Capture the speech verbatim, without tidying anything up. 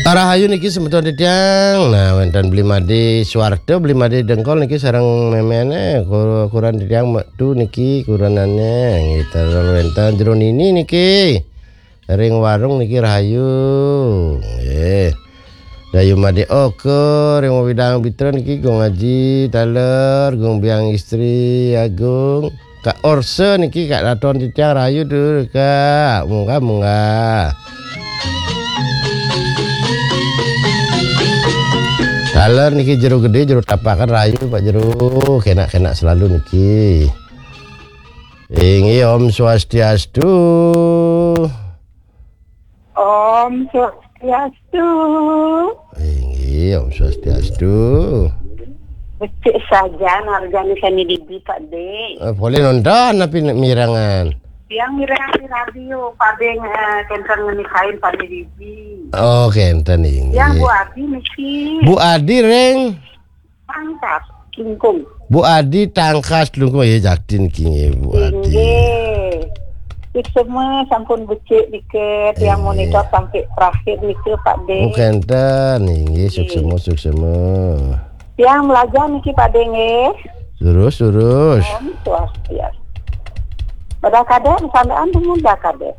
Rahayu niki semeton titiang. Nah, wenten Beli Made Suwarta, Beli Made Dengkol niki sareng memene, ku-, kurenan titiang metu niki kurenane. Nggih, terus wenten Jero Nini niki. Ring warung niki rahayu. Nggih. Rahayu Made Oka, ring Widang Bitra niki Gung Aji Taler, Gung Biang Istri Agung. Kak Orse niki, Kak, raton titiang rahayu tuh, Kak. Munggah, munggah. Taler niki Jero Gede, Jero Tapakan rahayu, Pak Jero. Kenak-kenak selalu niki. Inggih, Om Swastiastu. Om Swastiastu. Inggih, Om Swastiastu. Becik saja narjani sami dibi, Pak De. Eh, boleh nonton tapi nek mirengan. Tiang mirengan di radio, Pak De, eh, kenten ngenisain sami dibi. Oh, kenten inggih. Tiang Bu Adi niki. Bu Adi ring Tangkas, Klungkung. Bu Adi Tangkas Klungkung, ya, jakti niki nggih, Bu Adi. Inggih. Suksma sampun becik niki, tiang inggih. Monitor sampai terakhir niki, Pak De. Oh, kenten, inggih, inggih. Suksma, suksma. Tiang belajar niki, Pak De, nggih. Terus, terus. Om Swastiastu. Pada kadek, sandaan dengan dah kadek.